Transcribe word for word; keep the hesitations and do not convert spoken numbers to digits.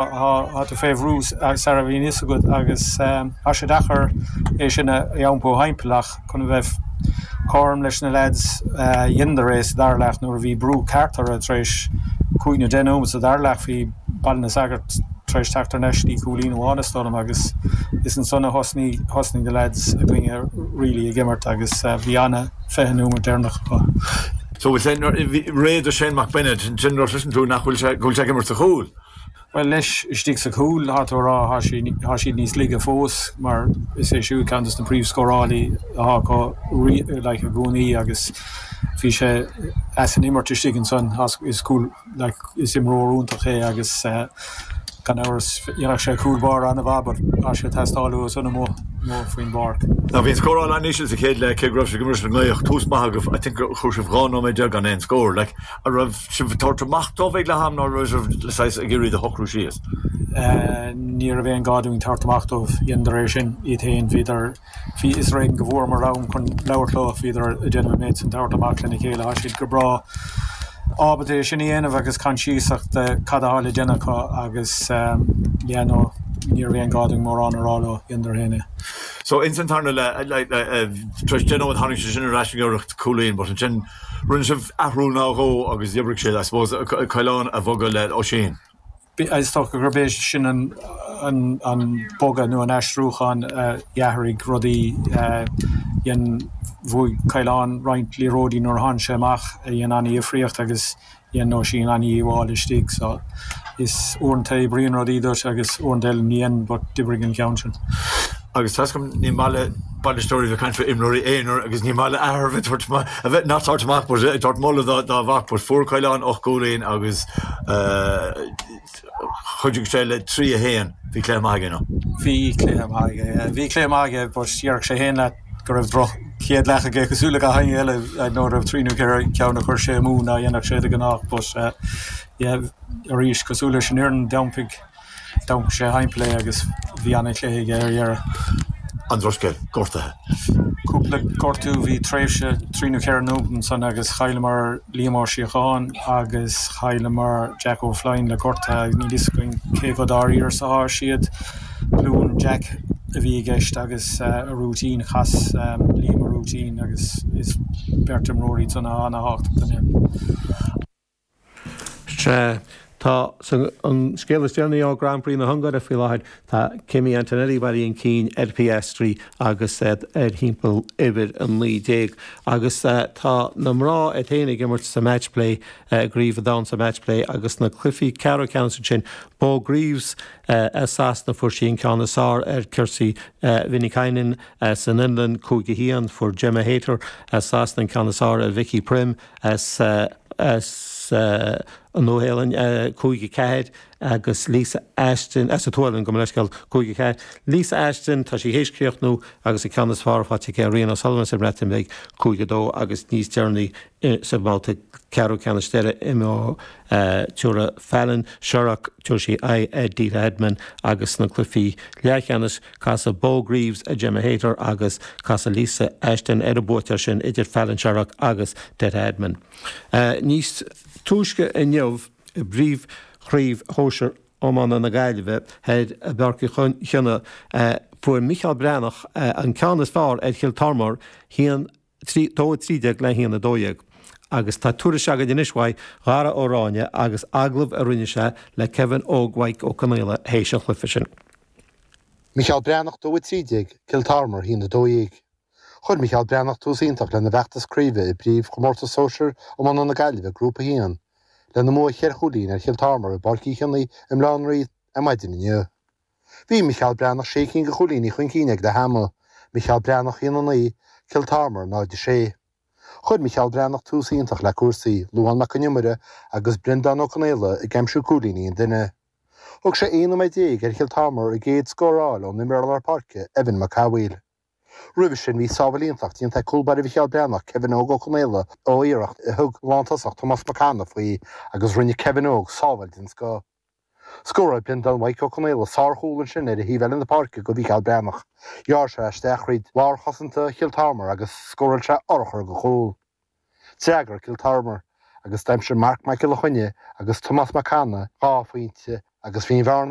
Tá tú fé bhrú sara bhíonn fhios agat agus tá sé deacair é sin a iompú thimpeall ach chun a bheith cothrom leis na lads dheineadar é sa dara leath nuair a bhí brú ceart orthu tar éis cúig nó deich nóiméad sa dara leath bhí Baile na Sagart tar éis teacht thar n-ais dtí cúilín amháin is dóigh liom agus is ansan a thosnaigh thosnaigh na lads againne really ag imirt agus bhí ana fiche nóiméad deireanach acu. So réidh do Shane McBennett sin sin tú nach bhfuil sé go bhfuil sé ag imirt sa chúl. Well leis istigh sa chúl tá tú rá tá siad níos laige fós mar is é siúd ceann de na príomhscórálaí atá acu like, i gcónaí agus bhí sé as an imirt istigh ansan is cúl like, is imreoir iontach é agus uh, gan amhras dhéanfadh sé cúl báire an-mhaith but tá sé teastáil san amuigh faoin bpáirc. Now bhí scóráil an-íseal sa chéad leath cé go raibh sé go an ngaoth tús maith agaibh I think chuir sibh dhá nóiméad déag gan aon scór like a raibh sibh tabhairt amach dóibh ag leath am ná raibh sibh le saghas ag iarraidh a shocrú síos. Uh, ní raibh aon ghá dúinn tabhairt amach dóibh dhéanadar é sin iad féin bhíodar bhí is réigen go bhfuair mar am chun labhairt leo bhíodar ag déanamh méid san tabhairt amach lena chéile tá siad go breá ábalta é sin a dhéanamh agus coinsiasach de cad atá le déanamh acu agus um, yeah, no, ní raibh aon ghá dúinn mórán a rá leo dhéanadar féin é. So in san tarna le tar éis deich nóiméad tháinig sé sin ar ais an cúilín, but ansin rinne sibh athrú nó dhó agus d'oibrigh sé I suppose Caolán a bhogadh le Oisín. Is dócha gurb é sin an, an, an bogadh nó an aistriúchán uh, d'athraigh rudaí uh, dhein bhuaigh Caolán roinnt liathróidí nuair a tháinig sé amach a dhein an-difríocht agus dhein Oisín an-dhíobháil istigh so is uaireanta oibríonn rudaí duit agus uaireanta eile ní dhéanann but d'oibrigh an ceann sin. Agus tá ní maith le bainisteoirí bheith caint imreoirí aonair agus ní maith le athair a bheith a bheith nach tabhairt amach but tabhairt moladh dá dá mhac but fuair Caolán ocht gcúilín agus uh, chuidigh sé le trí a haon bhí cluiche maith aige nó. Bhí cluiche maith aige bhí cluiche maith aige but dhéarfadh sé féin leat go raibh droch chéad leath aige cosúil le gach éinne eile nó raibh trí nó ceithre ceann a chuir sé amú ná dhéanfadh sé de ghnáth but uh, yeah, arís cosúil leis an fhoireann d'iompaigh d'iompaigh sé thimpeall é agus bhí an-chluiche aige ar dheireadh. An drochscéal gortaithe. Cúpla gortú bhí tréimhse trí nó ceithre nóiméad san agus chailleamar Liam Ó Síocháin agus chailleamar Jack O'Flynn le gorta agus ní againn cé chomh dáiríre is atá siad glúin Jack a bhí i gceist agus uh, a rúitín chas um, Liam a rúitín agus is beirt imreoirí san an-tábhachtach don fhoireann. Se tá an scéal is déanaí ó Grand Prix na hUngáire faoi láthair tá Kimi Antonelli bailí an cinn ar Piastri agus ar thimpeall uimhir a naoi déag agus uh, tá na mná ag féin ag imirt sa matchplay uh, gríomh down sa matchplay agus na cluichí ceathrú ceannais sin Beau Greaves uh, as Sasana fuair sí an ceann is fearr ar Kirsi uh, Viinikainen uh, san Fhionlainn cúig a haon fuair Gemma Hayter as Sasana an ceann is fearr ar Vicky Prim as uh, as uh, an Nua-Shéalainn uh, cúig a ceathair agus Lisa Ashton as a tualan go leiscail cúig a ceathair. Lisa Ashton tá sí théis críochnú agus an ceann is fearr faighte aici ar Ríona O'Sullivan sa mBreatain Bheag cúig a dó agus níos deireanaí sa mbabhta ceathrú ceannais deiridh imreoidh uh, Fallon Sherrock tabharfaidh sí aghaidh ar Deta Hedman agus na cluichí leathcheannais casfaidh Beau Greaves ar Gemma Hayter agus casfaidh Lisa Ashton ar an mbuaiteoir sin idir Fallon Sherrock agus Deta Hedman. Uh, níos túisce inniu i bpríomhchraobh shóisir iomána na Gaillimhe ar i bPáirc Uí Chionnaith uh, fuair Michael Breathnach uh, an ceann is fearr ar Chill Tormar haon dó trí déag le haon a dó dhéag. Agus tá tuairisc againn anois uaidh Dhara Ó Ráinne agus agallamh a rinne sé le Kevin Óg Mhaidhc Ó Conaola théis an chluiche sin. Michael Breathnach dó trí déag Cill Tormar haon a dó dhéag. Chuir Michael Breathnach tús iontach lena bhfeachtas craoibhe i bpríomhchomórtas sóisir iomána na Gaillimhe grúpa haon, lena mbua ceithre chúilín ar Chill Tormar i bPáirc Uí Chionnaith i mBaile Átha an Rí ar maidin inniu. Bhí Michael Breathnach sé cinn de chúilíní chun cinn ag leath ama, Michael Breathnach haon a naoi, Cill Tormar náid a sé. Chuir Michael Breathnach tús iontach le cúrsaí Luán Mac Con Iomaire agus Breandán Ó Conaola ag aimsiú cúilíní an duine. Thug sé aon nóiméad déag ar Chill Tormar a gcéad scór ón imreoir lár páirce Evan Mac Cathmhaoil. Roimhe sin bhí sábháil iontach déanta ag cúl báire Mhicheál Breathnach Kevin Óg Ó Conaola ó iarracht a thug lántosach Tomás Mac Anna faoi agus rinne Kevin Óg sábháil den scoth. Scóráil Breandán Mhaidhc Ó Conaola sárchúl ansin ar thaobh eile na páirce go Mhicheál Breathnach. Ghearr sé isteach thríd lár chosanta Chill Tormar agus scóráil sé urchar go chúl. D'fhreagair Cill Tormar agus d'aimsigh Mark Michael Choinne agus Tomás Mac Anna dhá phointe agus bhí an bhearna